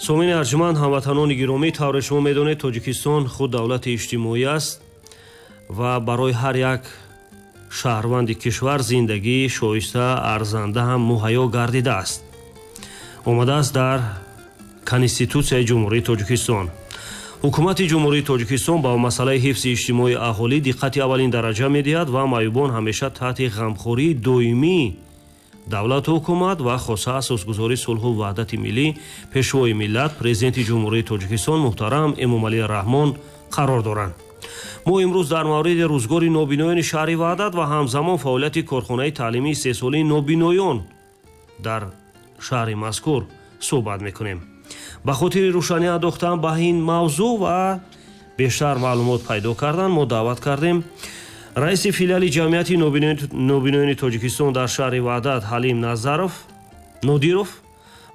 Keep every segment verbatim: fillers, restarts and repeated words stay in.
Сомини арҷманд, ҳамватанони гиромӣ, тавре шумо медонед, Тоҷикистон худ давлати иҷтимоӣ аст ва барои ҳар як шаҳрванди кишвар зиндагии шоиста, арзанда ҳам муҳайё гардидааст. Омадааст дар Конститутсияи Ҷумҳурии Тоҷикистон. Ҳукумати Ҷумҳурии Тоҷикистон ба масъалаи ҳифзи иҷтимоии аҳолӣ диққати аввалин дараҷа медиҳад ва маъюбон ҳамеша таҳти ғамхории доимии давлату ҳукумат ва хоса асосгузори сулҳу ваҳдати миллӣ, пешвои миллат, президенти Ҷумҳурии Тоҷикистон муҳтарам Эмомалӣ Раҳмон қарор доранд. Мо имрӯз дар мавриди рӯзгори нобиноёни шаҳри Ваҳдат ва ҳамзамон фаъолияти корхонаи таълимии сесолаи нобиноён дар шаҳри мазкур суҳбат мекунем. Ба хотири рӯшанӣ андохтан ба ин мавзӯъ ва бештар маълумот пайдо кардан мо даъват кардем раиси филиали ҷамъияти нобиноёни Тоҷикистон дар шаҳри Ваҳдат Ҳалим Назаров Нодиров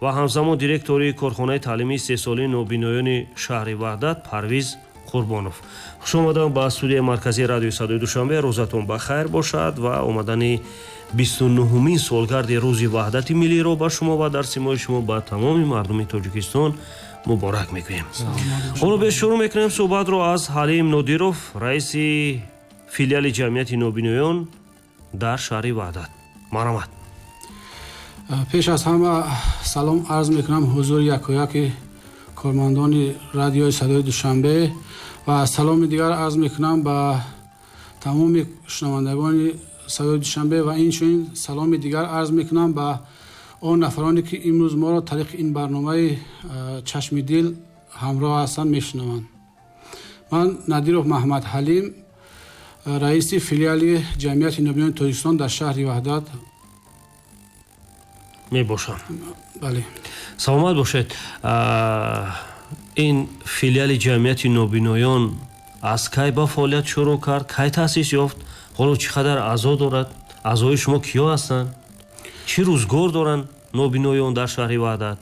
ва ҳамзамон директори корхонаи таълимии сесолаи нобиноёни шаҳри Ваҳдат Парвиз Қурбонов. Хуш омадам ба студияи марказии радиои Садои Душанбе. Рӯзатон ба хайр бошад ва омадани бисту нуҳумин солгарди рӯзи ваҳдати миллиро ба шумо ва дар симои шумо ба тамоми мардуми Тоҷикистон муборак мекунем. Ҳоло беш шурӯъ мекунем суҳбатро аз Ҳалим Нодиров, раиси филиали ҷамъияти нобиноён дар шаҳри Ваҳдат. Марҳамат. Пеш аз ҳама салом арз мекунам ҳузури якояки кормандони радиои Садои Душанбе ва саломи дигар арз мекунам ба тамоми шунавандагони Садои Душанбе ва инчунин саломи дигар арз мекунам ба он нафароне ки имрӯз моро тариқи ин барномаи Чашми дил ҳамроҳ ҳастанд, мешунаванд. Ман Надиров Маҳмад Ҳалим, раиси филиали ҷамъияти нобиноёни Тоҷикистон дар шаҳри Ваҳдат мебошам. Бале. Саломат бошед. Ин филиали ҷамъияти нобиноён аз кай ба фаъолият шурӯъ кард, кай таъсис ёфт, ҳоло чӣ қадар аъзо дорад, аъзои шумо киё ҳастанд, чӣ рӯзгор доранд нобиноён дар шаҳри Ваҳдат?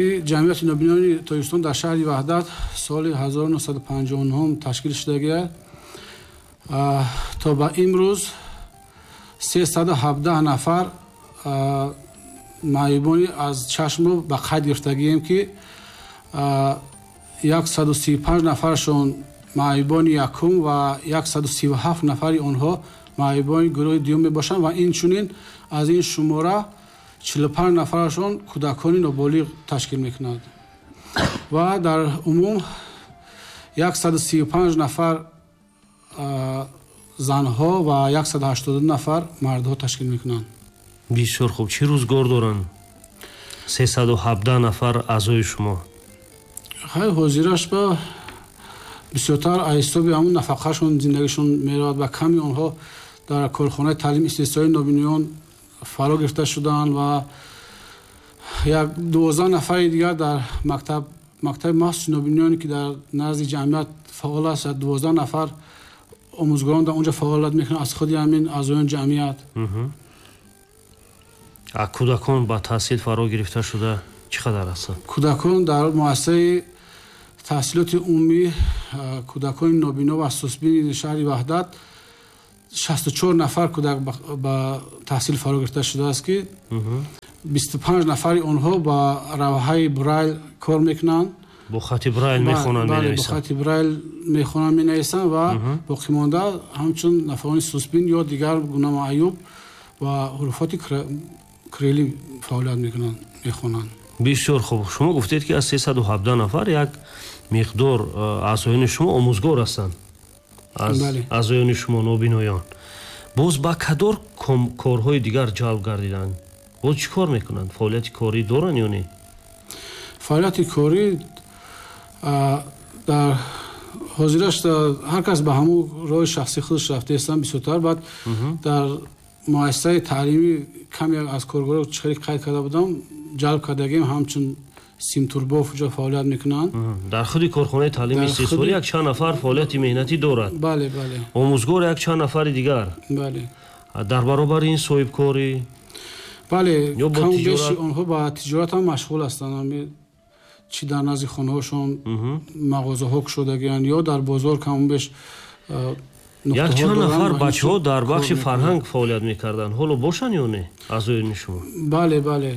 Ин ҷамъияти нобиноёни Тоҷикистон дар шаҳри Ваҳдат соли ҳазору нӯҳсаду панҷоҳу нӯҳум ташкил шудагиаст. То ба имрӯз сесаду ҳабдаҳ нафар маъюбони аз чашмро ба қайд гирифтагием, ки яксаду сию панҷ нафаршон маъюбони якум ва яксаду сию ҳафт нафари онҳо маъюбони гурӯҳи дуюм мебошанд ва инчунин аз ин шумора чилу панҷ нафарашон кӯдакони ноболиғ ташкил мекунанд ва дар умум яксаду сию панҷ нафар занҳо ва яксаду ҳаштоду нафар мардҳо ташкил мекунанд. Бисёр хуб. Чӣ рӯзгор доранд сесаду ҳабдаҳ нафар аъзои шумо? Хай, ҳозираш ба бисёртар аз ҳисоби ҳамун нафақашон зиндагишон меравад ва ками онҳо дар корхонаи таълими истисноии нобиноён фаро гирифта шудаанд ва як дувоздаҳ нафари дигар дар мактаб мактаби махсуси нобиноёне ки дар назди ҷамъият фаъол аст, дувоздаҳ нафар омӯзгорон дар онҷо фаъолият мекунанд аз худи ҳамин аъзоёни ҷамъият. А кӯдакон ба таҳсил фаро гирифта шуда чӣ қадар ҳастанд? Кӯдакон дар муассисаи таҳсилоти умумӣ кӯдакони нобино ва сусбини шаҳри Ваҳдат шасту чор нафар кӯдак ба таҳсил фаро гирифта шудааст, ки бисту панҷ нафари онҳо ба равҳаи Брайл кор мекунанд. Бо хати Брайл мехонанд, менависанд. Бо хати Брайл мехонанд, менависанд ва боқимонда ҳамчун нафарони сусбин ё дигар гуна маъюб ва ҳуруфоти кирилӣ фаъолият мекунанд, мехонанд. Бисёр хуб. Шумо гуфтед, ки аз сесаду ҳабдаҳ нафар як миқдор аъзоёни шумо омӯзгор ҳастанд, аз аъзоёни шумо нобиноён. Боз ба кадор корҳои дигар ҷалб гардиданд? Боз чӣ кор мекунанд? Фаъолияти корӣ доранд ё не? Фаъолияти корӣ дар ҳозираш ҳар кас ба ҳамун роҳи шахсии худаш рафтаистанд бисёртар. Баъд дар муассисаи таълимӣ каме аз коргарро хеле қайд карда будам, ҷалб кардагим, ҳамчун симтурбоф ҷо фаъолият мекунанд. Дар худи корхонаи таълими истисноӣ як чанд нафар фаъолияти меҳнатӣ дорад. Бале, бале. Омӯзгор як чанд нафари дигар. Бале. Дар баробари ин соҳибкорӣ? Бале, кам беши онҳо ба тиҷорат ҳам машғул ҳастанд. Чӣ дар назди хонаҳошон мағозаҳо кушодагианд ё дар бозор кам беш як чанд нафар бачаҳо дар бахши фарҳанг фаъолият мекарданд. Ҳоло бошанд ё не аъзоёни шумо? Бале, бале.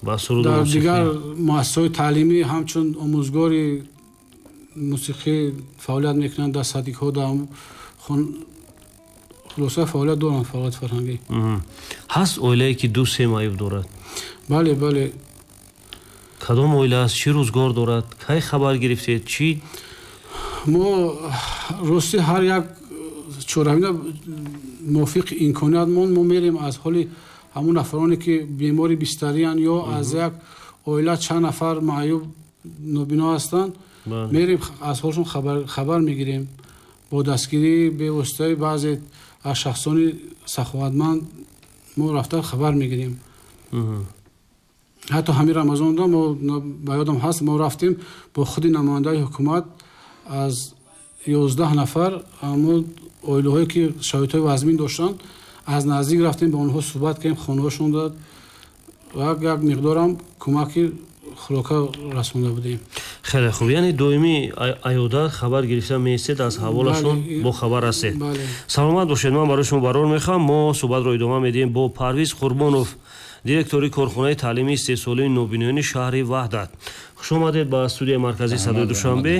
Ба суруд дар дигар муассисаҳои таълимӣ ҳамчун омӯзгори мусиқӣ фаъолият мекунанд, дар садикҳо, дар хулоса фаъолият доранд, фаъолияти фарҳангӣ. Ҳаст оилае ки ду се маъюб дорад? Бале, бале. Кадом оила аст? Чӣ рӯзгор дорад? Кай хабар гирифтед? Чӣ? Мо рости ҳар як чорабина мувофиқи имкониятмон мо мерем аз ҳоли ҳамон нафароне ки бемори бистариянд ё аз як оила чанд нафар маъюб нобино ҳастанд, мерем аз ҳолшон хабар мегирем. Бо дастгирии бевоситаи баъзе аз шахсони саховатманд мо рафта хабар мегирем. Ҳатто ҳамин Рамазонда мо ба ёдам ҳаст, мо рафтем бо худи намояндаи ҳукумат аз ёздаҳ нафар ҳамон оилаҳое ки шароитҳои вазмин доштанд аз наздик рафтем, ба онҳо суҳбат кардем, хонаҳошон дод ва як миқдорам кӯмаки хӯрока расонда будем. Хеле хуб, яъне доимӣ аёдат хабар гирифта меистед, аз ҳаволашон бо хабар ҳастед. Саломат бошед, ман барои шумо барор мехоҳам. Мо суҳбатро идома медиҳем бо Парвиз Қурбонов, директори корхонаи таълимии истеҳсолии нобиноёни шаҳри Ваҳдат. Хуш омадед ба студияи марказии Садои Душанбе.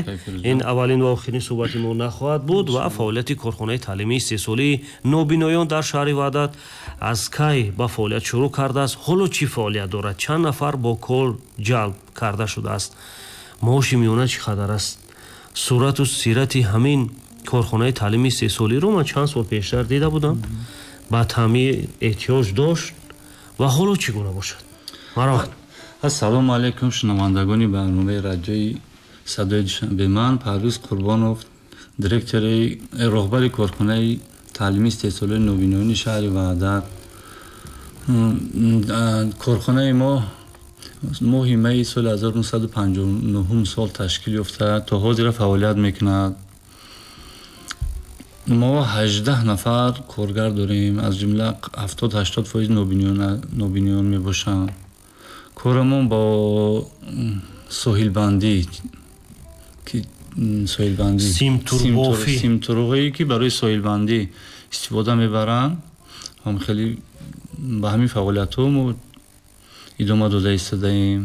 Ин аввалин ва охирин суҳбати мо нахоҳад буд ва фаъолияти корхонаи таълимии истеҳсолии нобиноён дар шаҳри Ваҳдат аз кай ба фаъолият шурӯъ кардааст, ҳоло чӣ фаъолият дорад, чанд нафар бо кор ҷалб карда шудааст, маоши миёна чӣ қадар аст, сурату сирати ҳамин корхонаи таълимии истеҳсолиро ман чанд сол пештар дида будам, ба таъмир эҳтиёҷ дошт ва ҳоло чӣ гуна бошад? Марҳамат. Ассалому алайкум, шунавандагони барномаи радиои Садои Душанбе. Ман Парвиз Қурбонов, директори роҳбари корхонаи таълимии истеҳсолии нобиноёни шаҳри Ваҳдат. Корхонаи мо моҳи майи соли ҳазору нӯҳсаду панҷоҳу нӯҳум сол ташкил ёфта, то ҳозира фаъолият мекунад. Мо ҳаждаҳ нафар коргар дорем, аз ҷумла ҳафтод ҳаштод фоиз нобиноён мебошанд. Корамон бо соҳилбандӣ, соҳилбандӣ симтурбофӣ, симтурҳое ки барои соҳилбандӣ истифода мебаранд, ҳам хеле ба ҳамин фаъолиятҳо мо идома дода истодаем.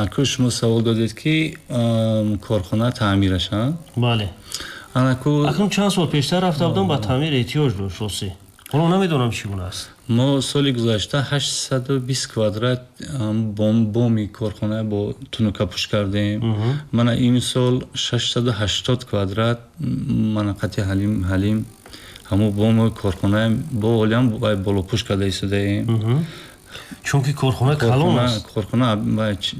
Акӯ шумо савол додед ки корхона таъмираш, бале. Акнун чанд сол пештар рафта будам, ба таъмир эҳтиёҷ дошт рости. Ҳоло намедонам чӣ гуна аст. Мо соли гузашта ҳаштсаду бист квадрат боми корхона бо тунукапӯш кардем. Мана имсол шашсаду ҳаштод квадрат мана қати ҳалим ҳалим ҳамун боми корхона бо олиам болопӯш карда истодаем. Чунки корхона калон аст. Корхона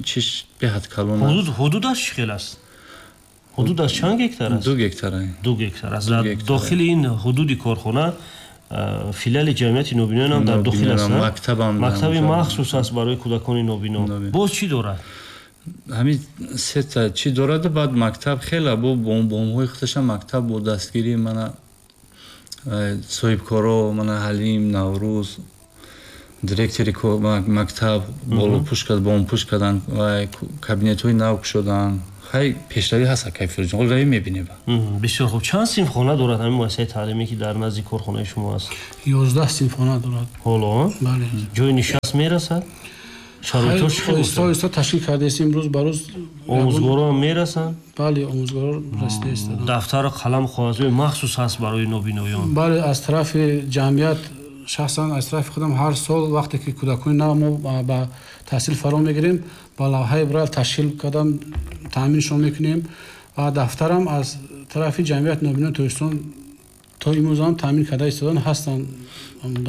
чиш беҳад калон аст. Ҳудудаш чӣ хел аст? Ҳудудаш чанд гектар аст? Ду гектар. Ду гектар аст. Дар дохили ин ҳудуди корхона филиали ҷамъияти нобиноён ҳам дар дохил аст. Мактаби махсус аст барои кӯдакони нобино. Боз чӣ дорад? Ҳамин сета чӣ дорад, баъд мактаб хеле бо бомҳои худашам мактаб бо дастгирии мана соҳибкоро, мана Ҳалим, Наврӯз, директори мактаб болопӯш кард, бомпӯш карданд ва кабинетҳои нав кушоданд. Хай пешравӣ ҳаст, акай Фирӯзҷон, ҳоло равӣ мебинем. Бисёр хуб. Чанд синфхона дорад ҳамин муассисаи таълимӣ ки дар назди корхонаи шумо аст? Ёздаҳ синфхона дорад. Ҳоло? Бале. Ҷои нишаст мерасад? Шароитҳо чӣ хел? Оҳиста оҳиста ташкил кардаистем, рӯз ба рӯз. Омӯзгорон ҳам мерасанд? Бале, омӯзгорон расида истоданд. Дафтару қалам, коғазҳои махсус ҳаст барои нобиноён? Бале, аз тарафи ҷамъият, шахсан аз тарафи худам ҳар сол вақте ки кӯдакони нав мо ба таҳсил фаро мегирем, ба лавҳаи Брайл ташкил кардам, таъминшон мекунем ва дафтарам аз тарафи ҷамъияти нобиноёни Тоҷикистон то имрӯз ҳам таъмин карда истодан ҳастанд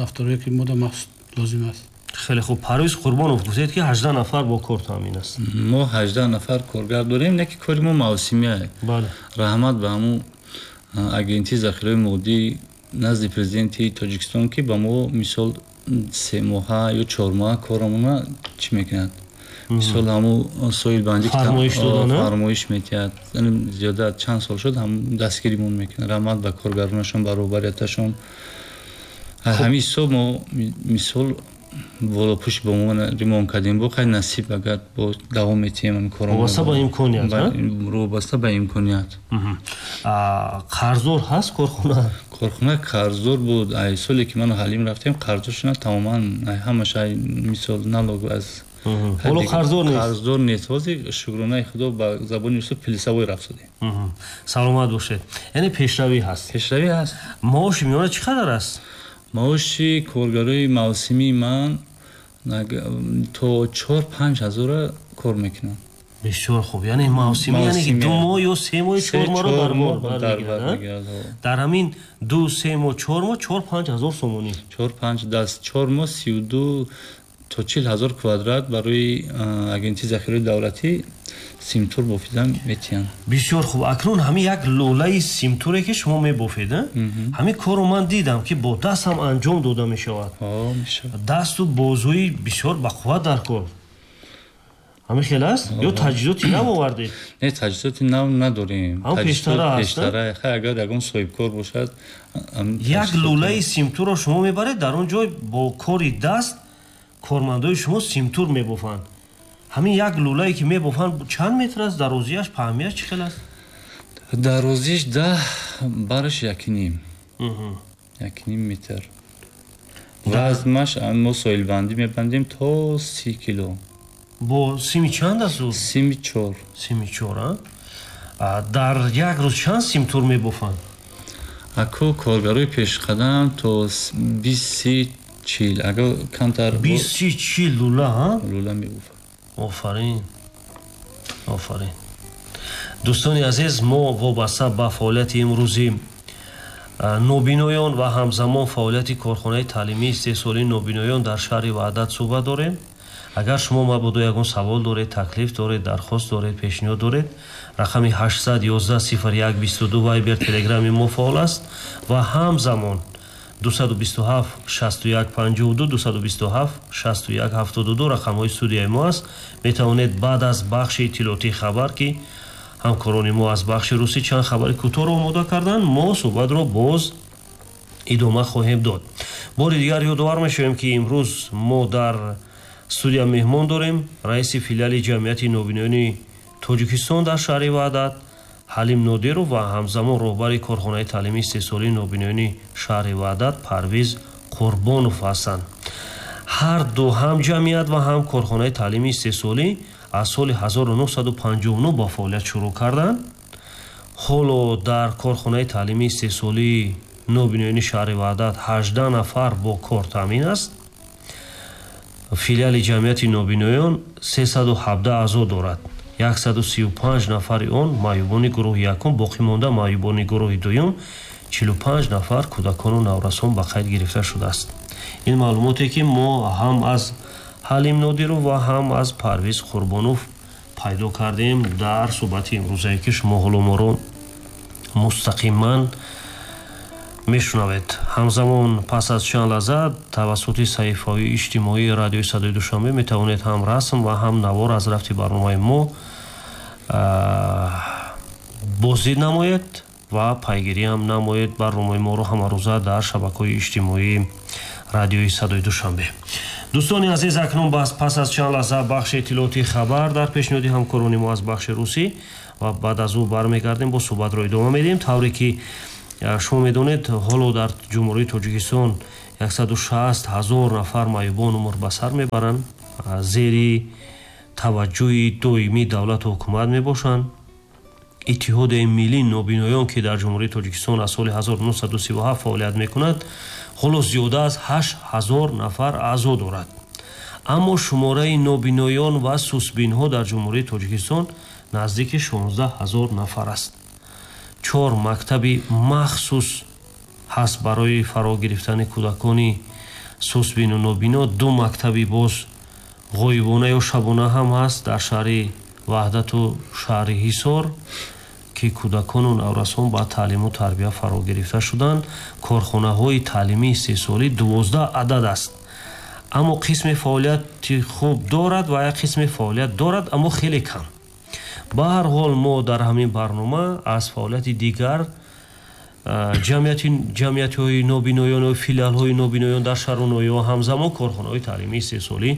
дафтарҳое ки мода махсус лозим аст. Хеле хуб. Парвиз Қурбонов, гуфтед ки ҳаждаҳ нафар бо кор таъмин аст. Мо ҳаждаҳ нафар коргар дорем, не ки кори мо мавсимия. Бале. Раҳмат ба ҳамун агентии захираҳои моддӣ назди президенти Тоҷикистон ки ба мо мисол се моҳа ё чор моҳа корамона чӣ мекунад. Мисол ҳамун соҳилбандӣ фармоиш метиҳад. Зиёда чанд сол шуд ҳам дастгиримон мекунад. Раҳмат ба коргаронашон, ба роҳбарияташон. Ҳамин ҳисоб мо мисол болопӯш бо мо ремонт кардем. Бо хай насиб агар бо давом метиҳем ҳамин корро. Вобаста ба имконият, вобаста ба имконият. Қарздор ҳаст корхона? Корхона қарздор буд. Ай соле ки ману Ҳалим рафтем, қарздор шуда тамоман ҳамаш ай мисол налог аз Ҳоло қарздор нест. Қарздор нест. Ҳозир шукронаи Худо ба забони русӣ плюсовой рафт шудем. Саломат бошед. Яъне пешравӣ ҳаст. Пешравӣ ҳаст. Маоши миёна чӣ қадар аст? Маоши коргарои мавсимии ман то чор панҷ ҳазора кор мекунанд. Бисёр хуб. Яъне мавсимӣ, яъне ки ду моҳ ё се моҳ, чор моҳро дар бар мегирад. Дар ҳамин ду се моҳ, чор моҳ, чор панҷ ҳазор сомонӣ. Чор панҷ даст чор моҳ сию ду то чил ҳазор квадрат барои агентии захираи давлатӣ симтур бофидан метиҳанд. Бисёр хуб. Акнун ҳамин як лӯлаи симтуре ки шумо мебофед, ҳамин корро ман дидам ки бо даст ҳам анҷом дода мешавад. Дасту бозуи бисёр бақувват дар кор. Ҳамин хел аст? Ё таҷҳизоти нав овардед? Не, таҷҳизоти нав надорем. Ҳам пештара аст? Пештара. Хай, агар ягон соҳибкор бошад. Як лӯлаи симтурро шумо мебаред, дар он ҷой бо кори даст кормандои шумо симтур мебофанд. Ҳамин як лӯлае ки мебофанд чанд метр аст? Дарозиаш, паҳмияш чӣ хел аст? Дарозиш даҳ, бараш якним. Якним метр. Вазнаш мо соҳилбандӣ мебандем то си кило. Бо сими чанд аст ӯ? Сими чор. Сими чор, а? Дар як рӯз чанд симтур мебофанд? Аку коргарои пешқадам то бист си чил, агар камтар. Бист си чил лӯла, ҳа? Лӯла мебофанд. Офарин, офарин. Дӯстони азиз, мо вобаста ба фаъолияти имрӯзи нобиноён ва ҳамзамон фаъолияти корхонаи таълимии истеҳсолии нобиноён дар шаҳри Ваҳдат суҳбат дорем. Агар шумо мабодо ягон савол доред, таклиф доред, дархост доред, пешниҳод доред, рақами ҳаштсад ёздаҳ сифр як бисту ду Вайбер Телеграми мо фаъол аст ва ҳамзамон дусаду бисту ҳафт шасту як панҷоҳу ду, дусаду бисту ҳафт шасту як ҳафтоду ду рақамҳои студияи мо аст. Метавонед баъд аз бахши иттилоотии хабар, ки ҳамкорони мо аз бахши русӣ чанд хабари кӯтоҳро омода карданд, мо суҳбатро боз идома хоҳем дод. Бори дигар ёдовар мешавем, ки имрӯз мо дар студия меҳмон дорем раиси филиали ҷамъияти нобиноёни Тоҷикистон дар шаҳри Ваҳдат Ҳалим Нодиров ва ҳамзамон роҳбари корхонаи таълимии истеҳсолии нобиноёни шаҳри Ваҳдат Парвиз Қурбонов ҳастанд. Ҳар ду ҳам ҷамъият ва ҳам корхонаи таълимии истеҳсолӣ аз соли ҳазору нӯҳсаду панҷоҳу нӯҳ ба фаъолият шурӯъ карданд. Ҳоло дар корхонаи таълимии истеҳсолии нобиноёни шаҳри Ваҳдат ҳаждаҳ нафар бо кор таъмин аст. Филиали ҷамъияти нобиноён сесаду ҳабдаҳ аъзо дорад. Яксаду сию панҷ нафари он маъюбони гурӯҳи якум, боқӣ монда маъюбони гурӯҳи дуюм, чилу панҷ нафар кӯдакону наврасон ба қайд гирифта шудааст. Ин маълумоте ки мо ҳам аз Ҳалим Нодиров ва ҳам аз Парвиз Қурбонов пайдо кардем дар суҳбати имрӯзае, ки шумо ҳоло моро мустақиман мешунавед. Ҳамзамон пас аз чанд лаҳза тавассути саҳифаҳои иҷтимоии радиои Садои Душанбе метавонед ҳам расм ва ҳам навор аз рафти барномаи мо боздид намоед ва пайгирӣ ҳам намоед барномаи моро ҳамарӯза дар шабакаҳои иҷтимоии радиои Садои Душанбе. Дӯстони азиз, акнун пас аз чанд лаҳза бахши иттилоотии хабар дар пешниҳоди ҳамкорони мо аз бахши русӣ ва баъд аз ӯ бармегардем, бо суҳбатро идома медиҳем. Тавре ки шумо медонед, ҳоло дар Ҷумҳурии Тоҷикистон яксаду шаст ҳазор нафар маъюбон умр ба сар мебаранд, зери таваҷҷӯҳи доимии давлату ҳукумат мебошанд. Иттиҳодияи миллии нобиноён, ки дар Ҷумҳурии Тоҷикистон аз соли ҳазору нӯҳсаду сиву ҳафт фаъолият мекунад, ҳоло зиёда аз ҳашт ҳазор нафар аъзо дорад. Аммо шумораи нобиноён ва сусбинҳо дар Ҷумҳурии Тоҷикистон наздики шонздаҳ ҳазор нафар аст. Чор мактаби махсус ҳаст барои фаро гирифтани кӯдакони сусбину нобино. Ду мактаби боз ғоибона ё шабона ҳам ҳаст дар шаҳри Ваҳдату шаҳри Ҳисор, ки кӯдакону наврасон ба таълиму тарбия фаро гирифта шуданд. Корхонаҳои таълимии истеҳсолӣ дувоздаҳ адад аст, аммо қисми фаъолияти хуб дорад ва як қисми фаъолият дорад, аммо хеле кам. Ба ҳар ҳол мо дар ҳамин барнома аз фаъолияти дигар ҷамъиятҳои нобиноён ва филиалҳои нобиноён дар шаҳру ноҳияҳо ҳамзамон корхонаҳои таълимии истеҳсолӣ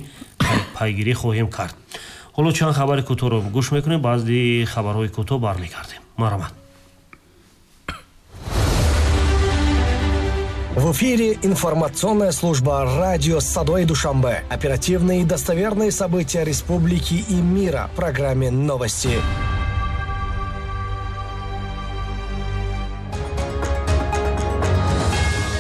пайгирӣ хоҳем кард. Ҳоло чанд хабари кӯтоҳро гӯш мекунем, баъди хабарҳои кӯтоҳ бармегардем. Марҳамат. В эфире информационная служба радио «Садои Душанбе». Оперативные и достоверные события республики и мира в программе «Новости».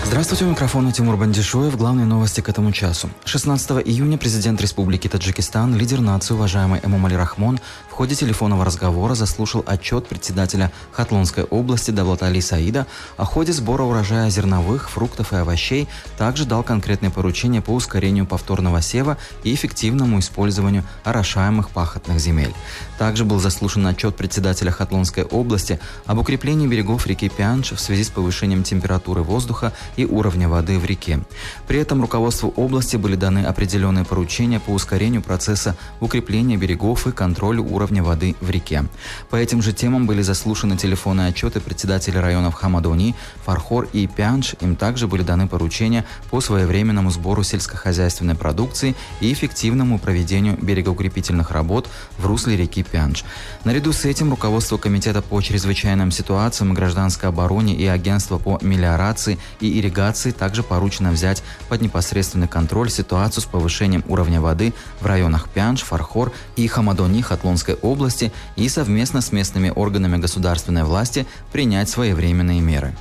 Здравствуйте, у микрофона Тимур Бандишоев. Главные новости к этому часу. шестнадцатого июня президент Республики Таджикистан, лидер нации, уважаемый Эмомали Рахмон, в ходе телефонного разговора заслушал отчет председателя Хатлонской области Давлатали Саида о ходе сбора урожая зерновых, фруктов и овощей, также дал конкретные поручения по ускорению повторного сева и эффективному использованию орошаемых пахотных земель. Также был заслушан отчет председателя Хатлонской области об укреплении берегов реки Пяндж в связи с повышением температуры воздуха и уровня воды в реке. При этом руководству области были даны определенные поручения по ускорению процесса укрепления берегов и контролю уровня воды в реке. По этим же темам были заслушаны телефонные отчеты председателей районов Хамадони, Фархор и Пяндж. Им также были даны поручения по своевременному сбору сельскохозяйственной продукции и эффективному проведению берегоукрепительных работ в русле реки Пяндж. Наряду с этим руководство Комитета по чрезвычайным ситуациям, гражданской обороне и Агентства по мелиорации и ирригации также поручено взять под непосредственный контроль ситуацию с повышением уровня воды в районах Пяндж, Фархор и Хамадони Хатлонской области и совместно с местными органами государственной власти принять своевременные меры.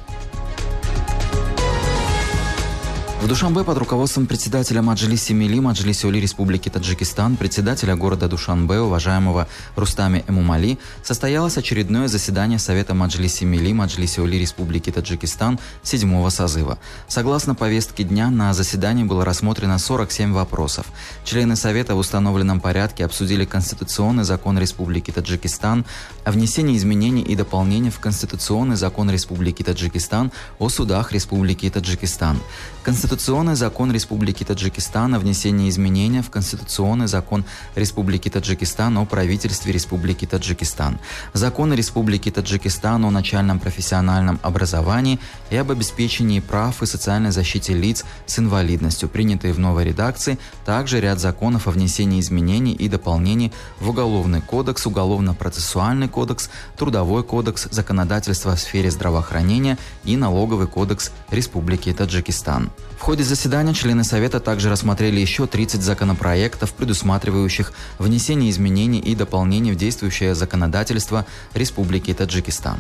В Душанбе под руководством председателя Маджлиси Мили, Маджлиси Оли Республики Таджикистан, председателя города Душанбе, уважаемого Рустами Эмомали, состоялось очередное заседание Совета Маджлиси Мили, Маджлиси Оли Республики Таджикистан седьмого созыва. Согласно повестке дня, на заседании было рассмотрено сорок семь вопросов. Члены Совета в установленном порядке обсудили Конституционный закон Республики Таджикистан о внесении изменений и дополнений в Конституционный закон Республики Таджикистан о судах Республики Таджикистан, Конституционный закон Республики Таджикистан о внесении изменений в Конституционный закон Республики Таджикистан о правительстве Республики Таджикистан, Закон Республики Таджикистан о начальном профессиональном образовании и об обеспечении прав и социальной защите лиц с инвалидностью, принятые в новой редакции, также ряд законов о внесении изменений и дополнений в Уголовный кодекс, Уголовно-процессуальный кодекс, Трудовой кодекс, законодательство в сфере здравоохранения и Налоговый кодекс Республики Таджикистан. В ходе заседания члены Совета также рассмотрели еще тридцать законопроектов, предусматривающих внесение изменений и дополнений в действующее законодательство Республики Таджикистан.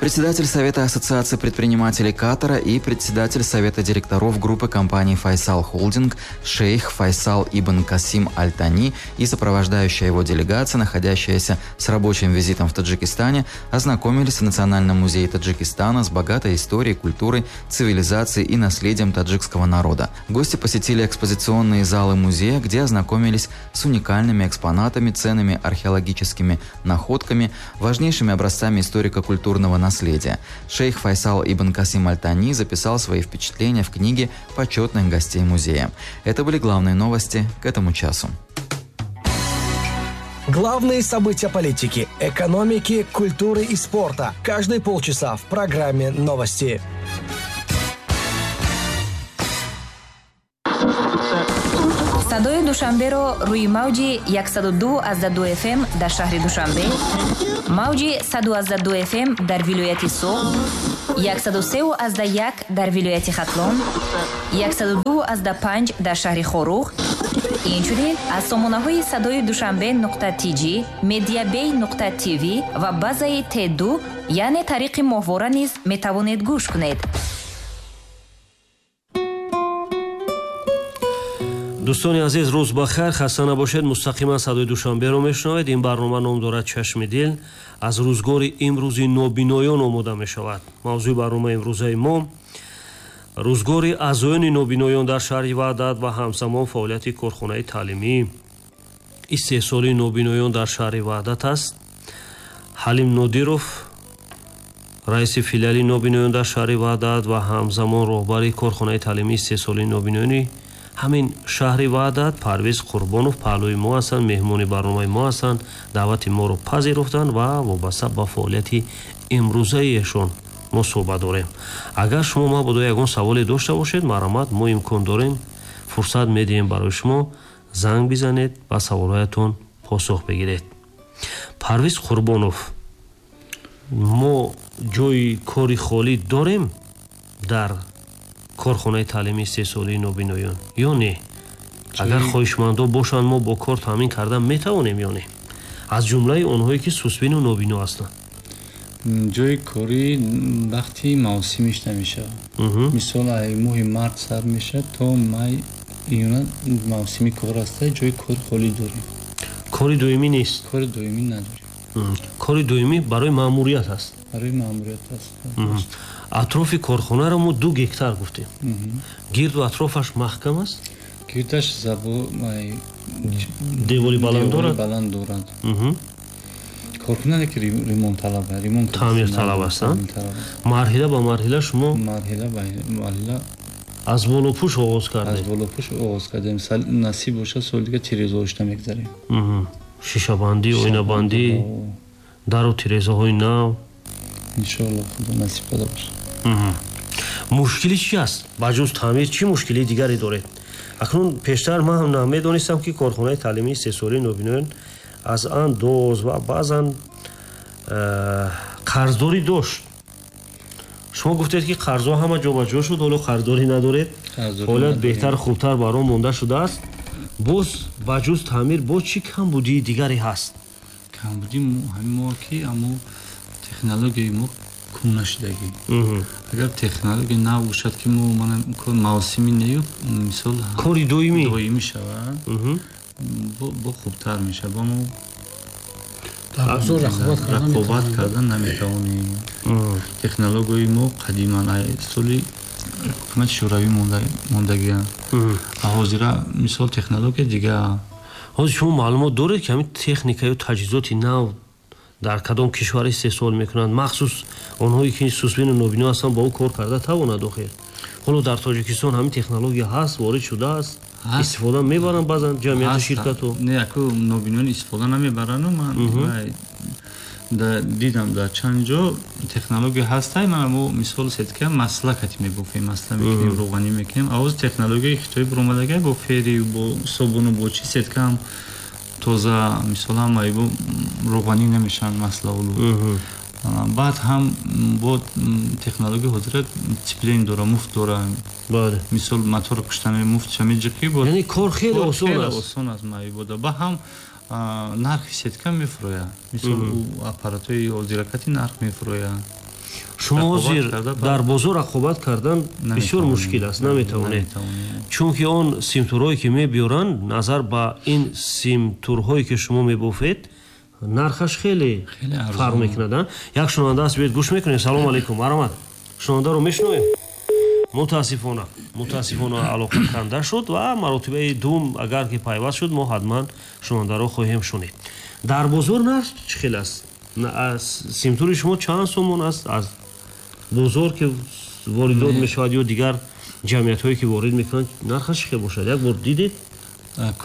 Председатель Совета Ассоциации предпринимателей Катара и председатель Совета директоров группы компаний «Файсал Холдинг» шейх Файсал Ибн Касим Аль-Тани и сопровождающая его делегация, находящаяся с рабочим визитом в Таджикистане, ознакомились в Национальном музее Таджикистана с богатой историей, культурой, цивилизацией и наследием таджикского народа. Гости посетили экспозиционные залы музея, где ознакомились с уникальными экспонатами, ценными археологическими находками, важнейшими образцами историко-культурного наследия. Наследия. Шейх Файсал Ибн Касим Аль-Тани записал свои впечатления в книге почетных гостей музея. Это были главные новости к этому часу. Главные события политики, экономики, культуры и спорта. Каждые полчаса в программе «Новости». Садои Душанберо рӯи мавҷи яксаду ду аз ду эф эм дар шаҳри Душанбе, мавҷи саду аз ду эф эм дар вилояти Суғд, яксаду се аз як дар вилояти Хатлон, яксаду ду аз панҷ дар шаҳри Хоруғ, инчунин аз сомонаҳои садои Душанбе нуқта тиҷи, медиабей нуқта тв ва базаи Т ду, яъне тариқи моҳвора низ метавонед гӯш кунед. Дӯстони азиз, рӯз ба хайр, хаста набошед. Мустақиман садои Душанберо мешунавед. Ин барнома ном дорад «Чашми дил». Аз рӯзгори имрӯзи нобиноён омода мешавад. Мавзӯи барномаи имрӯзаи мо рӯзгори аъзоёни нобиноён дар шаҳри Ваҳдат ва ҳамзамон фаъолияти корхонаи таълимии истеҳсолии нобиноён дар шаҳри Ваҳдат аст. Ҳалим Нодиров, раиси филиали нобиноён дар шаҳри Ваҳдат ва ҳамзамон роҳбари корхонаи таълимии истеҳсолии нобиноёни ҳамин шаҳри Ваҳдат, Парвиз Қурбонов паҳлӯи мо ҳастанд, меҳмони барномаи мо ҳастанд, даъвати моро пазируфтанд ва вобаста ба фаъолияти имрӯзаи эшон мо суҳбат дорем. Агар шумо мабодо ягон саволе дошта бошед, марҳамат, мо имкон дорем, фурсат медиҳем барои шумо, занг бизанед, ба саволҳоятон посух бигиред. Парвиз Қурбонов, Мо ҷои кори холӣ дорем дар корхонаи таълимии истеҳсолии нобиноён ё не? Агар хоҳишмандо бошанд, мо бо кор таъмин кардан метавонем ё не? Аз ҷумлаи онҳое ки сусбину нобино ҳастанд. Ҷои корӣ вақти мавсимиш намешавад. Мисол, моҳи март сар мешавад то май, июна мавсими кор аста, ҷои кори холӣ дорем. Кори доимӣ нест? Кори доимӣ надорем. Кори доимӣ барои маъмурият аст? Барои маъмурият аст. Атрофи корхонаро мо ду гектар гуфтем. Гирду атрофаш маҳкам аст? Гирдаш забо девори баланд дорад? Баланд дорад. Корхона ки ремонт талаб, ремонт таъмир талаб аст. Марҳила ба марҳила шумо марҳила ба марҳила аз болопӯш оғоз кардем. Аз болопӯш оғоз кардем. Насиб бошад, соли дига тирезаҳошта мегзарем. Шишабандӣ, оинабандӣ, дару тирезаҳои нав. Иншоалло, Худо насиб карда бошад. Мушкили чи аст? Ба ҷуз таъмир чӣ мушкилии дигаре доред? Акнун пештар ман ҳам намедонистам, ки корхонаи таълимии истеҳсолии нобиноён аз андоз ва баъзан қарздорӣ дошт. Шумо гуфтед, ки қарзҳо ҳама ҷобаҷо шуд, ҳоло қарздорӣ надоред, фаъолият беҳтар, хубтар бар он монда шудааст. Боз ба ҷуз таъмир боз чӣ камбудии дигаре ҳаст? Камбудӣ ҳамин мо ки амо технологияи мо кӯҳна шудагӣ. Агар технология нав бошад, ки мо мавсими нею, мисол кори доимӣ доимӣ шавад, бо хубтар мешавад. Бо мо рақобат кардан наметавонем. Технологияи мо қадиман соли ҳукумати шӯравӣ мондагианд. А ҳозира мисол технология дига. Ҳозир шумо маълумот доред, ки ҳамин техникаю таҷҳизоти нав дар кадом кишвар истеҳсол мекунанд, махсус онҳое ки сусбину нобино ҳастанд ба ӯ кор карда тавонад охир? Ҳоло дар Тоҷикистон ҳамин технология ҳаст, ворид шудааст, истифода мебаранд баъзан ҷамъияту ширкату? Не, аку нобиноён истифода намебаранду. Ман дидам дар чанд ҷо технология ҳастай. Ман мо мисол сетка масла кати мебофем, масла мекунем, рӯғанӣ мекунем. Авоз технологияи хитоӣ буромадагай бо фери, бо собуну бо чи сетка ҳам тоза, мисол ҳам айбо рӯғанӣ намешаванд маслаулу. Баъд ҳам бо технология ҳозира циплен дора, муфт дора. Мисол мотор куштан муфт меҷиқӣ. Яъне кор хеле осон аст. Осон аст майбода. Ба ҳам нархи сетка мефурӯяд. Мисол аппаратҳои ҳозиракати нарх мефурӯяд. Шумо ҳозир дар бозор рақобат кардан бисёр мушкил аст, наметавонед, чунки он симтурҳое ки мебиёранд, назар ба ин симтурҳое ки шумо мебофед, нархаш хеле фарқ мекунад. Як шунаванда аст, биёед гӯш мекунем. Салому алайкум, марҳамат, шунавандаро мешунавем? Мутаассифона, мутаассифона алоқа канда шуд ва маротибаи дуввум агар ки пайваст шуд, мо ҳатман шунавандаро хоҳем шунид. Дар бозор нарх чӣ хел аст? Симтури шумо чанд сомон аст? Аз бозор ки воридот мешавад ё дигар ҷамъиятҳое ки ворид мекунанд, нархаш чӣ хел бошад? Як бор дидед?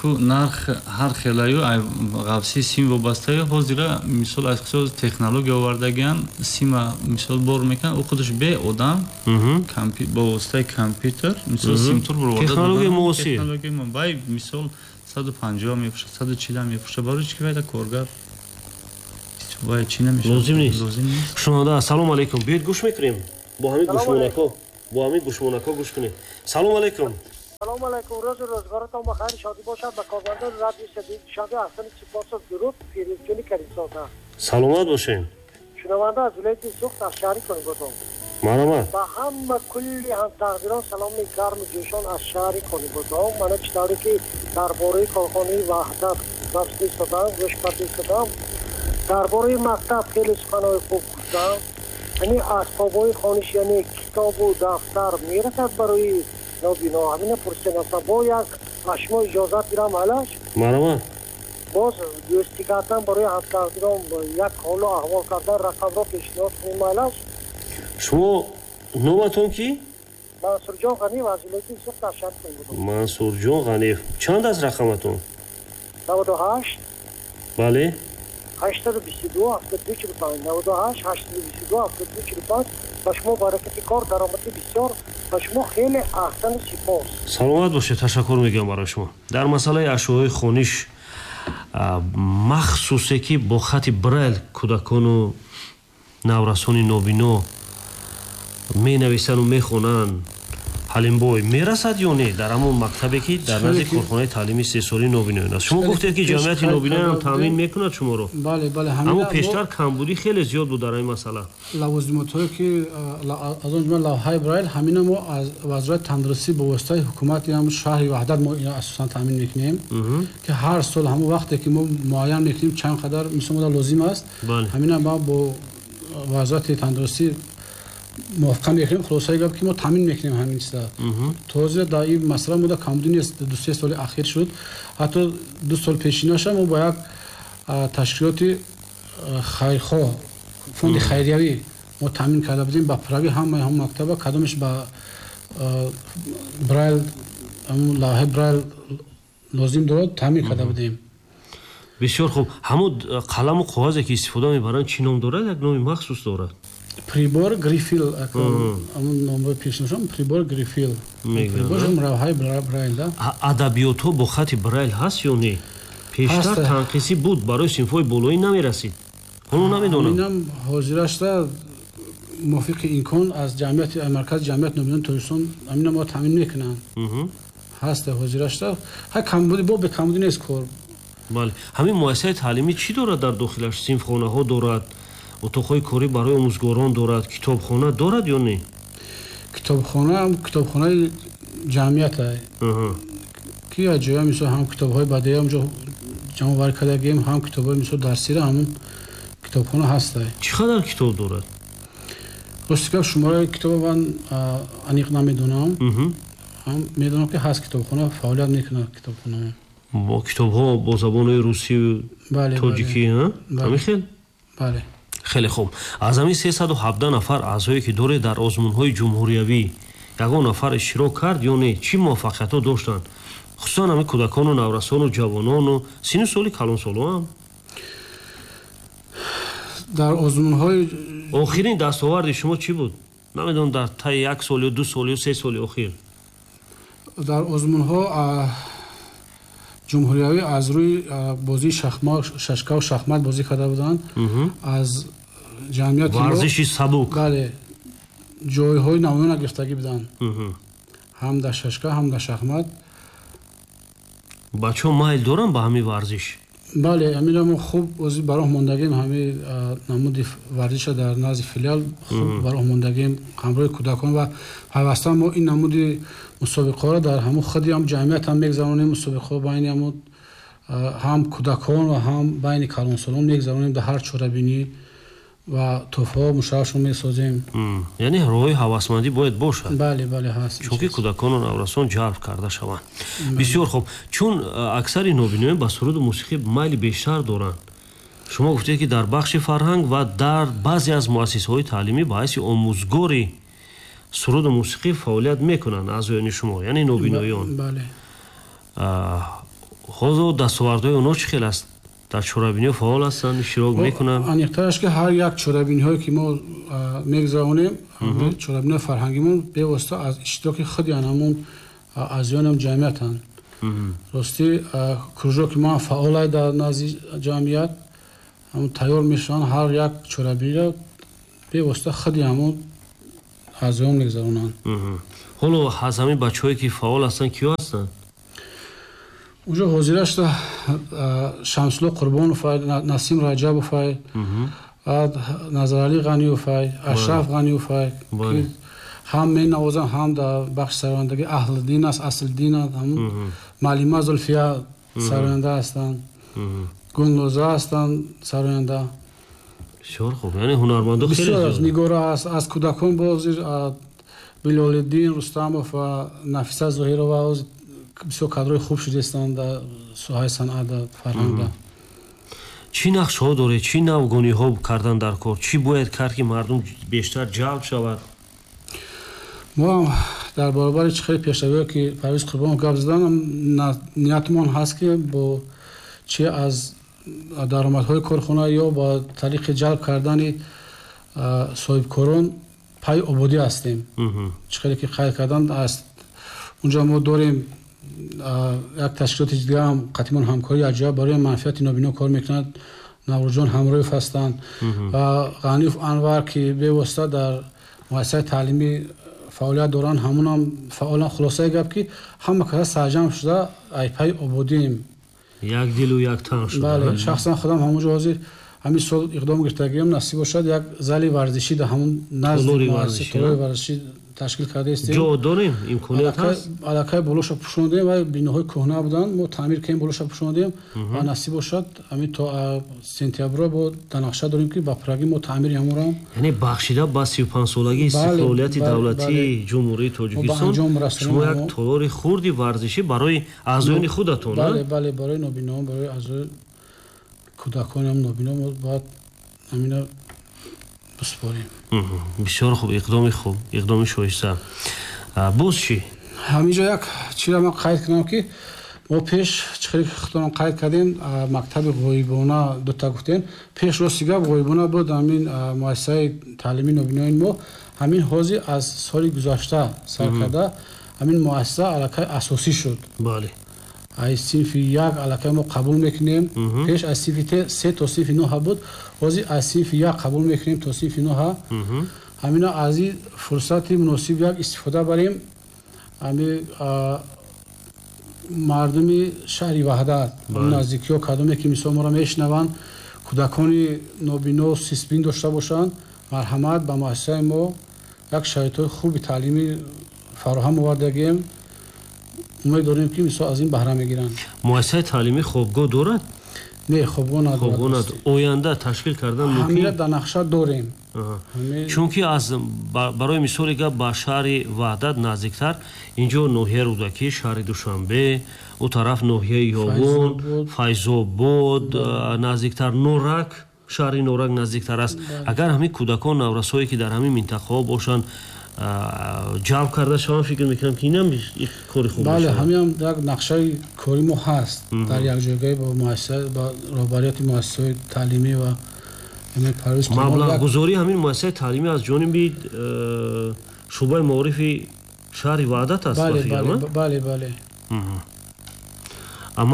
Ку нарх ҳар хелаю ғафси сим вобастаю. Ҳозира мисол аз қисози технология овардагиан, сима мисол бор мекунад, ӯ худаш бе одам бо воситаи компютер мисол симтур буроварда. Технология муосир. Вай мисол саду панҷоҳ мефурӯшад, саду чил мефурӯшад. Барои чӣ ки вайда коргар вай чӣ намешавад? Лозим нест. Шунаванда, ассалому алайкум, биёед гӯш мекунем. Бо ҳамин гӯшмонако, бо ҳамин гӯшмонако гӯш кунед. Салому алайкум. Салом алайкум, рӯзу рӯзгоратон ба хайр шодӣ бошад. Ба кормандони радиои Садои Душанбе Ҳасани Сипосов дуруд, Фирӯзҷони Каримзода. Саломат бошед. Шунаванда аз вилояти Суғд, аз шаҳри Конибодом. Марҳамат. Ба ҳама кулли ҳамтақдирон саломи гарму ҷӯшон аз шаҳри Конибодом. Мана чӣ тавре ки дар бораи корхонаи Ваҳдат гап истодам, гӯш карда истодам. Дар бораи мактаб хеле суханҳои хуб гуфтам. Яъне асбобҳои хониш, яъне китобу дафтар мерасад барои нобино. Ҳамина пурсидам. Бо як аз шумо иҷозат гирам алаш? Марҳамат. Боз дӯстӣ кардан барои ҳамтақдирон як ҳолу аҳвол кардан рақамро пешниҳод кунем алаш? Шумо номатон ки? Мансурҷон Ғаниев аз вилояти Суғд, аз шаҳри Конибодом. Мансурҷон Ғаниев. Чанд аст рақаматон? наваду ҳашт. Бале. ҳаштаду бисту ду ҳафтоду ду чилу панҷ. наваду ҳашт ҳаштаду бисту ду ҳафтоду ду чилу панҷ. Ба шумо баракати кор, даромади бисёр, ба шумо хеле аҳсану сипос. Саломат бошед, ташаккур мегӯям барои шумо. Дар масъалаи ашёҳои хониш махсусе ки бо хати Брайл кӯдакону Наврасони нобино менависанду мехонанд, Ҳалимбой, мерасад ё не дар ҳамон мактабе, ки дар назди корхонаи таълими истеҳсолии нобиноён аст? Шумо гуфтед, ки ҷамъияти нобиноён таъмин мекунад шуморо. Бале, бале. Аммо пештар камбудӣ хеле зиёд буд дар ин масъала. Лавозимотҳое, ки аз он ҷумла лавҳаи Брайл, ҳамина мо аз Вазорати тандурустӣ бо воситаи ҳукумати ҳам шаҳри Ваҳдат мо асосан таъмин мекунем, ки ҳар сол ҳамон вақте ки мо муайян мекунем, чанд қадар мисол мода лозим аст, ҳамина мо бо Вазорати тандурустӣ мувофиқа мекунем. Хулосаи гап, ки мо таъмин мекунем ҳамин чиза. Тоза дар ин масъала мода камбудӣ нест. Ду се соли ахир шуд, ҳатто ду сол пешинаша мо бо як ташкилоти хайрхоҳ, фонди хайриявӣ, мо таъмин карда будем ба прави ҳамаи ҳам мактаба, кадомеш ба Брайл, лавҳаи Брайл лозим дорад, таъмин карда будем. Бисёр хуб. Ҳамон қаламу коғазе, ки истифода мебаранд, чӣ ном дорад? Як номи махсус дорад. Прибор Грифель, ҳамон номҳои пешнашон, прибор Грифель, лавҳаи Брайл. Адабиётҳо бо хати Брайл ҳаст ё не? Пештар танқисӣ буд, барои синфҳои болоӣ намерасид, ҳоло намедонам. Инам ҳозирашта мувофиқи имкон аз ҷамъияти маркази ҷамъияти нобинони Тоҷикистон ҳамина мо таъмин мекунанд. Ҳаста ҳозирашта, ҳа, камбудӣ бо бекамбудӣ нест кор. Бале. Ҳамин муассисаи таълимӣ чӣ дорад дар дохилаш? Синфхонаҳо дорад, утоқҳои корӣ барои омӯзгорон дорад, китобхона дорад ё не? Китобхона китобхонаи ҷамъият, ки аз ҷоя мисол ҳам китобҳои бадеӣ ҳамҷо ҷамъоварӣ кардагием, ҳам китобҳои мисол дарсира, ҳамон китобхона ҳаста. Чӣ қадар китоб дорад? Рости гап, шумораи китоба ман аниқ намедонам. Ҳам медонам, ки ҳаст китобхона, фаъолият мекунад китобхона. Бо китобҳо бо забонҳои русию тоҷикӣ, ҳамин хел? Бале. Хеле хуб. Аз ҳамин сесаду ҳабдаҳ нафар аъзое, ки доред, дар озмунҳои ҷумҳуриявӣ ягон нафар иштирок кард ё не? Чӣ муваффақиятҳо доштанд, хусусан ҳамин кӯдакону наврасону ҷавонону сину соли калонсолоам? Дар озмунҳои Охирин дастоварди шумо чӣ буд? Намедонам, дар таи як сол ё ду сол ё се соли охир. Дар озмунҳо ҷумҳуриявӣ аз рӯи бозии шашкаву шахмат бозӣ карда буданд. Аз ҷамъияти варзиши сабук. Бале, ҷойҳои намоёна гирифтагӣ буданд, ҳам дар шашка, ҳам дар шахмат. Бачаҳо майл доранд ба ҳамин варзиш? Бале, ҳаминро мо хуб ози ба роҳ мондагем. Ҳамин намуди варзиша дар назди филиал хуб ба роҳ мондагем ҳамроҳи кӯдакон ва пайваста мо ин намуди мусобиқаҳоро дар ҳамун худи ҳам ҷамъият ҳам мегзаронем. Мусобиқаҳо байни ҳамун ҳам кӯдакон ва ҳам байни калонсолон мегзаронем дар ҳар чорабинӣ ва тӯҳфаҳо мушаррафшон месозем. Яъне роҳи ҳавасмандӣ бояд бошад. Бале, бале, ҳаст. Чунки кӯдакону наврасон ҷалб карда шаванд. Бисёр хуб. Чун аксари нобиноён ба суруду мусиқӣ майли бештар доранд, шумо гуфтед, ки дар бахши фарҳанг ва дар баъзе аз муассисаҳои таълимӣ ба ҳайси омӯзгори суруду мусиқӣ фаъолият мекунанд аъзоёни шумо, яъне нобиноён. Бале. Ҳозир дастовардҳои онҳо чӣ хел аст? Дар чорабиниҳо фаъол ҳастанд, иштирок мекунанд? Аниқтараш, ки ҳар як чорабиниҳое, ки мо мегузаронем, чорабиниҳои фарҳангимон, бевосита аз иштироки худи ҳамон аъзоёнам ҷамъиятанд. Ростӣ, кружоки мо фаъолай дар назди ҷамъият, ҳамон тайёр мешаванд, ҳар як чорабиниро бевосита худи ҳамон аъзоён мегузаронанд. Ҳоло аз ҳамин бачаҳое, ки фаъол ҳастанд, киё ҳастанд? Уже ҳозирашта Шамсулло Қурбоновай, Насим Раҷабовай, баъд Назаралӣ Ғаниевай, Ашраф Ғаниевай, ки ҳам менавозанд, ҳам дар бахши сарояндагӣ Аҳлиддин аст, Аслиддин аст, муаллима Зулфия сароянда ҳастанд, Гулноза ҳастанд сароянда. Бисёр хуб, яъне ҳунармандо хеле бисёр аст. Нигора аст, аз кӯдакон боз Билолиддин Рустамов ва Нафиса Зоҳирова бисёр кадрои хуб шудастанд дар соҳаи санъат, дар фарҳанг. Чӣ нақшҳо доред? Чӣ навгониҳо кардан дар кор? Чӣ бояд кард, ки мардум бештар ҷалб шавад? Мо ҳам дар баробари чӣ хеле пешравиҳое, ки Парвиз Қурбонов гап задан, ниятмон ҳаст, ки бо чи аз даромадҳои корхона ё ба тариқи ҷалб кардани соҳибкорон пайи ободӣ ҳастем. Чӣ хеле ки қайд кардан аст, унҷо мо дорем як ташкилоти дигаам қатъимон ҳамкорӣ аҷоиб барои манфиати нобино кор мекунад, Наврӯзҷон Ҳамроев ҳастанд ва Ғаниев Анвар, ки бевосита дар муассисаи таълимӣ фаъолият доранд, ҳамунам фаъолан. Хулосаи гап, ки ҳама каса сарҷамъ шуда айпаи ободием, як дилу як тан шуда. Бале, шахсан худам ҳамонҷо ҳозир ҳамин сол иқдом гирифтагием, насиб бошад, як зали варзишӣ дар ҳамун назди толори варзишӣ ташкил кардаистем. Ҷо дорем, имконият ҳаст? Аллакай болоша пӯшондем ва биноҳои кӯҳна буданд, мо таъмир кардем, болоша пӯшондем ва насиб бошад, ҳамин то сентябро бо дар нақша дорем, ки ба пуррагӣ мо таъмири ҳамонро Яъне бахшида ба сию панҷсолагии истиқлолияти давлатии Ҷумҳурии Тоҷикистон шумо як толори хурди варзишӣ барои аъзоёни худатон? Бале, бале, барои нобиноон, барои аъзои кӯдаконам нобино мо бояд ҳамина бисупорем. Бисёр хуб, иқдоми хуб, иқдоми шоиста. Боз чӣ? Ҳаминҷо як чизро ман қайд кунам, ки мо пеш чӣ хеле худтонам қайд кардем, мактаби ғоибона дута гуфтем. Пеш, рости гап, ғоибона буд ҳамин муассисаи таълимии нобиноёни мо. Ҳамин ҳозир аз соли гузашта сар карда ҳамин муассиса аллакай асосӣ шуд. Бале аз синфи як аллакай мо қабул мекунем. Пеш аз синфи се то синфи нӯҳа буд, ҳозир аз синфи як қабул мекунем то синфи нӯҳа. Ҳамина аз ин фурсати муносиб як истифода барем, ҳами мардуми шаҳри Ваҳдат, наздикиҳо, кадоме ки мисол моро мешунаванд, кӯдакони нобино, сисбин дошта бошанд, марҳамат, ба муассисаи мо як шароитҳои хуби таълимӣ фароҳам овардагием. Умед дорем, ки мисол аз ин баҳра мегиранд. Муассисаи таълимӣ хобгоҳ дорад? Не, хобгоҳ надорад. Оянда ташкил кардан мумкин? Ҳамира дар нақша дорем. Чунки аз барои мисоли гап, ба шаҳри Ваҳдат наздиктар инҷо ноҳияи Рӯдакӣ, шаҳри Душанбе, ӯ тараф ноҳияи Ёвон, Файзобод наздиктар, Норак, шаҳри Норак наздиктар аст. Агар ҳамин кӯдакон, наврасҳое ки дар ҳамин минтақаҳо бошанд, ҷалб карда шаванд, фикр мекунам, ки инам кори хуб. Бале, ҳаминам як нақшаи кори мо ҳаст дар якҷойгоҳӣ бо муассиса, бо роҳбарияти муассисаҳои таълимӣ ва Маблағгузории ҳамин муассисаи таълимӣ аз ҷониби шӯъбаи маорифи шаҳри Ваҳдат аст? Бале, бале.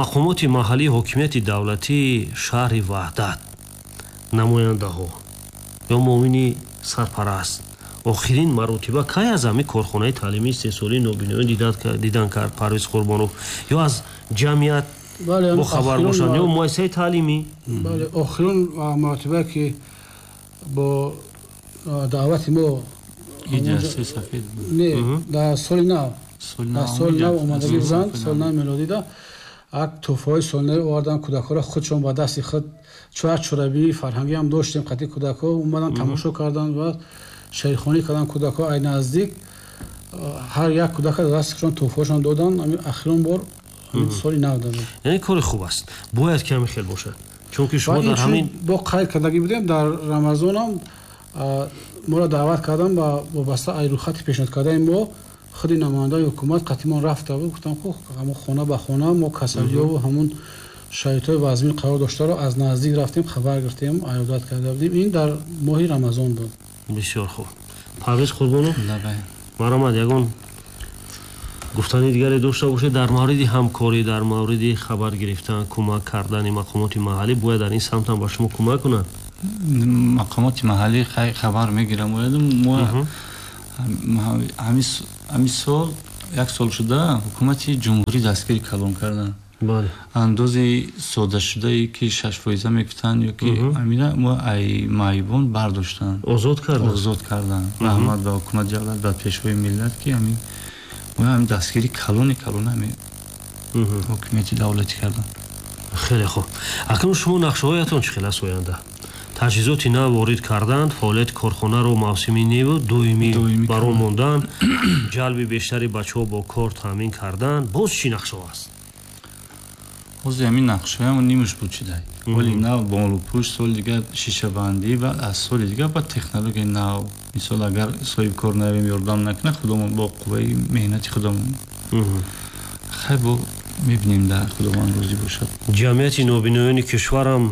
Мақомоти маҳаллии ҳокимияти давлатии шаҳри Ваҳдат, намояндаҳо ё муовини сарпараст охирин маротиба кай аз ҳамин корхонаи таълимии истеҳсолии нобиноён дидан кард, Парвиз Қурбонов? Ё аз ҷамъият бохабар бошанд, ё муассисаи таълимӣ? Бале, охирин маротиба ки бо даъвати мо, не, дар соли нав, дар соли нав омадагӣ буданд, соли нав мелодида як тӯҳфаҳои солинави оварданд, кӯдакҳоро худшон ба дасти худ, чун як чорабинии фарҳангӣ ҳам доштем, қатъи кӯдакҳо омаданд, тамошо карданд ва шеърхонӣ карданд кӯдакҳо ай наздик. Ҳар як кӯдака дар дасти худшон тӯҳфаҳошон доданд. Ҳамин охирон бор ҳамин соли нав доданд. Яъне кори хуб аст, бояд ки ҳамин хел бошад, чунки шумо дар ҳамин бо қайд кардагӣ будем, дар Рамазонам моро даъват карданд ба вобаста ай рӯйхати пешниҳод кардаи мо худи намояндаи ҳукумат қатъимон рафта буд. Гуфтам, хуб, ҳамон хона ба хона мо касалиёву ҳамун шароитҳои вазмин қарор доштаро аз наздик рафтем, хабар гирифтем, аёдат карда будем. Ин дар моҳи Рамазон буд. Бисёр хуб. Парвиз Қурбонов, марҳамат, ягон гуфтани дигаре дошта бошед дар мавриди ҳамкорӣ, дар мавриди хабар гирифтан, кӯмак кардани мақомоти маҳаллӣ? Бояд дар ин самт ҳам ба шумо кӯмак кунанд. Мақомоти маҳаллӣ хабар мегирам. Мо ҳамин сол, як сол шуда, ҳукумати ҷумҳурӣ дастгири калон карданд. Андози содашудае ки шаш фоиза мегуфтанд, ё ки ҳамина мо ай маъюбон бардоштанд, озод карданд, озод карданд. Раҳмат ба ҳукумати давлат, ба пешвои миллат, ки ҳамин мо ҳамин дастгири калони калон ҳамин ҳукумати давлатӣ карданд. Хеле хуб. Акнун шумо нақшаҳоятон чӣ хел аст оянда? Таҷҳизоти нав ворид карданд, фаъолияти корхонаро мавсимӣ неву доимӣ баро мондан, ҷалби бештари бачаҳо бо кор таъмин кардан, боз чӣ нақшаҳо аст? Ҳозир ҳамин нақшаҳоям нимаш буд шуда. Вале нав болупӯш, соли дигар шишабандӣ ва аз соли дигар ба технологияи нав. Мисол, агар соҳибкор наявем, ёрдам накунад, худомон бо қувваи меҳнати худомон. Хай, бо мебинем, дар Худованд розӣ бошад. Ҷамъияти нобиноёни кишварам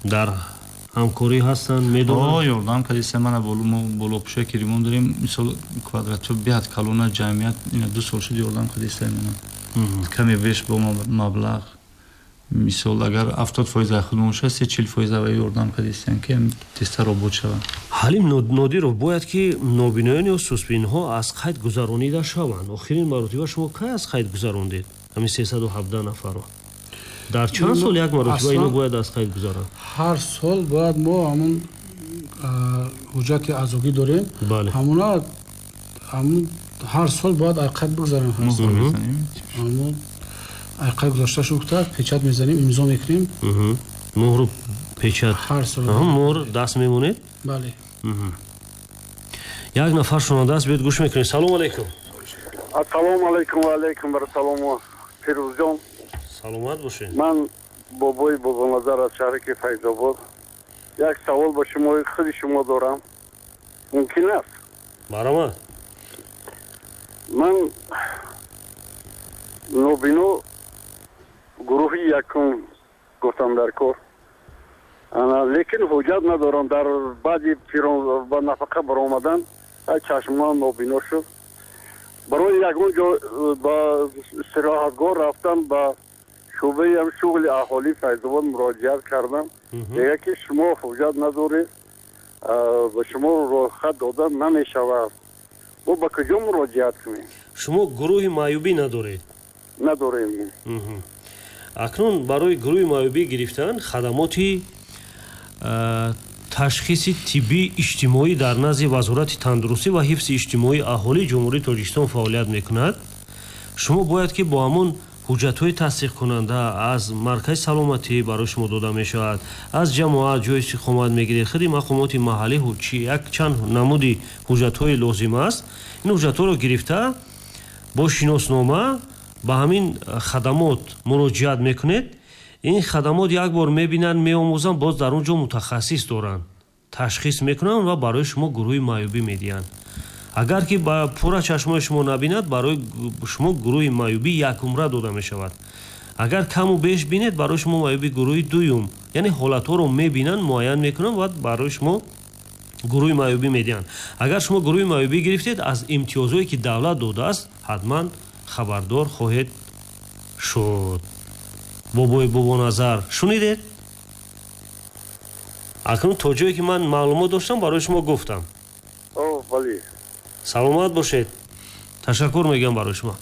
дар ҳамкорӣ ҳастанд, медонанд? Ёрдам кардиста. Мана мо болопӯшае ки ремонт дорем, мисол, квадратҳо беҳад калона, ҷамъият ина ду сол шуд ёрдам кардиста мана. Каме беш бо маблағ Мисол агар ҳафтод фоиз аз худмон бошад, се чил фоиз авай ёрдам кардистем ки тезтар обод шавад. Ҳалим Нодиров, бояд ки нобиноён ё суспинҳо аз қайд гузаронида шаванд. Охирин маротиба шумо кай аз қайд гузарондед ҳамин сесаду ҳабдаҳ нафарро? Дар чанд сол як маротиба ино бояд аз қайд гузаранд? Ҳар сол бояд мо ҳамун ҳуҷҷати аъзогӣ дорем, ҳамуна ҳамун ҳар сол бояд аз қайд бигузарем. Ҳамун қайд гузошта шуд, печат мезанем, имзо мекунем. Муҳру печат ҳар сол муҳр даст мемонед? Бале. Як нафар шунаванда аст, биёед гӯш мекунем. Салому алайкум. Ассалому алайкум ва алайкум вассалом. Фирӯзҷон, саломат бошед. Ман бобои Бобоназар аз шаҳри ки Файзобод. Як савол ба шумо, худи шумо дорам, мумкин аст? Марҳамат. Ман нобино гурӯҳи якум гуфтам дар кор, лекин ҳуҷҷат надорам. Дар баъди ба нафақа баромадан чашмам нобино шуд. Барои ягон ҷо ба истироҳатгоҳ рафтан ба шӯъбаи шуғли аҳолии Файзобод муроҷиат кардам. Мегӯяд ки шумо ҳуҷҷат надоред, ба шумо роҳхат дода намешавад. Мо ба куҷо муроҷиат кунем? Шумо гурӯҳи маъюбӣ надоред? Надорем. Акнун барои гурӯҳи маъюбӣ гирифтан хадамоти ташхиси тиббии иҷтимоӣ дар назди Вазорати тандурустӣ ва ҳифзи иҷтимоии аҳолии Ҷумҳурии Тоҷикистон фаъолият мекунад. Шумо бояд ки бо ҳамон ҳуҷҷатҳои тасдиқкунанда аз маркази саломатӣ барои шумо дода мешавад, аз ҷамоат ҷои истиқомат мегиред, худи мақомоти маҳаллӣ як чанд намуди ҳуҷҷатҳои лозим аст. Ин ҳуҷҷатҳоро гирифта бо шиноснома ба ҳамин хадамот муроҷиат мекунед. Ин хадамот як бор мебинанд, меомӯзанд, боз дар он ҷо мутахассис доранд, ташхис мекунанд ва барои шумо гурӯҳи маъюбӣ медиҳанд. Агар ки ба пурра чашмои шумо набинад, барои шумо гурӯҳи маъюбӣ якумра дода мешавад. Агар каму беш бинед, барои шумо маъюби гурӯҳи дуюм, яъне ҳолатҳоро мебинанд, муайян мекунанд ва барои шумо гурӯҳи маъюбӣ медиҳанд. Агар шумо гурӯҳи маъюбӣ гирифтед, аз имтиёзҳое ки давлат додааст ҳатман хабардор хоҳед шуд. Бобои Бобоназар, шунидед? Акнун то ҷое ки ман маълумот доштам барои шумо гуфтам. Бале. Саломат бошед. Ташаккур мегӯям барои шумо.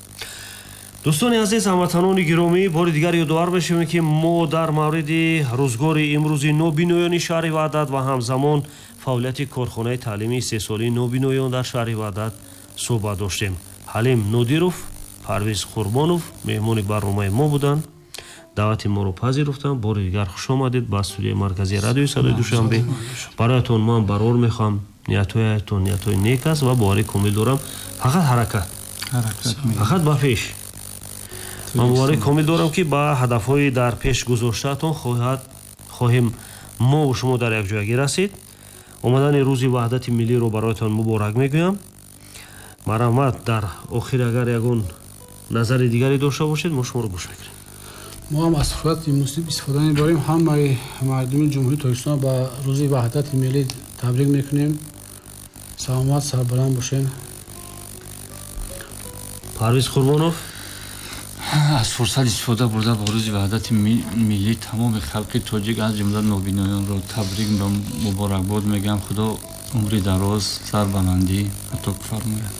Дӯстони азиз, ҳамватанони гиромӣ, бори дигар ёдовар мешавем ки мо дар мавриди рӯзгори имрӯзи нобиноёни шаҳри Ваҳдат ва ҳамзамон фаъолияти корхонаи таълимии истеҳсолии нобиноён дар шаҳри Ваҳдат суҳбат доштем. Ҳалим Нодиров, Парвиз Қурбонов меҳмони барномаи мо буданд. Даъвати моро пазируфтанд. Бори дигар хуш омадед ба студияи марказии радиои Садои Душанбе. Бароятон ман барор мехоҳам. Ниятҳоятон ниятҳои нек аст ва боварӣ комил дорам. Фақат ҳаракат, фақат ба пеш. Ман боварӣ комил дорам ки ба ҳадафҳои дар пеш гузоштаатон хоҳад хоҳем мо ва шумо дар якҷоягӣ расид. Омадани рӯзи ваҳдати миллиро бароятон муборак мегӯям. Марҳамат, дар охир агар ягон назари дигаре дошта бошед, мо шуморо гӯш мекунем. Мо ҳам аз фурсати муносиб истифода мебарем. Ҳамаи мардуми Ҷумҳурии Тоҷикистон ба рӯзи ваҳдати миллӣ табрик мекунем. Саломат, сарбаланд бошед. Парвиз Қурбонов, аз фурсат истифода бурда ба рӯзи ваҳдати миллӣ тамоми халқи тоҷик аз ҷумла нобиноёнро табрик ва муборакбод мегӯям. Худо умри дароз, сарбаландӣ ато фармояд.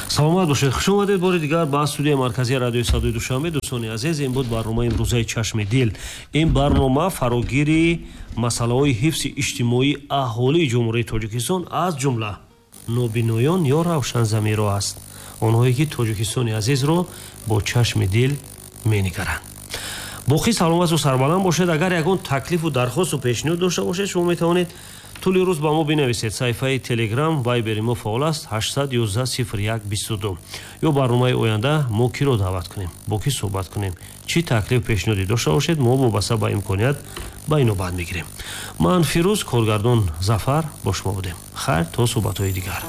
Саломат бошед. Хуш омадед бори дигар ба студияи марказии радиои Садои Душанбе. Дӯстони азиз, ин буд барномаи имрӯзаи Чашми дил. Ин барнома фарогири масъалаҳои ҳифзи иҷтимоии аҳолии Ҷумҳурии Тоҷикистон аз ҷумла нобиноён ё равшанзамиро аст, онҳое ки Тоҷикистони азизро бо чашми дил менигаранд. Боқӣ саломату сарбаланд бошед. Агар ягон таклифу дархосту пешниҳод дошта бошед, шумо метавонед тӯли рӯз ба мо бинависед. Саҳифаи Телеграм, Вайбери мо фаъол аст, ҳаштсад ёздаҳ сифр як бисту ду. Ё барномаи оянда мо киро даъват кунем, бо кӣ суҳбат кунем, чӣ таклиф пешниҳодӣ дошта бошед, мо вобаста ба имконият ба инобат мегирем. Ман Фирӯз, коргардон Зафар бо шумо будем. Хайр, то суҳбатҳои дигар.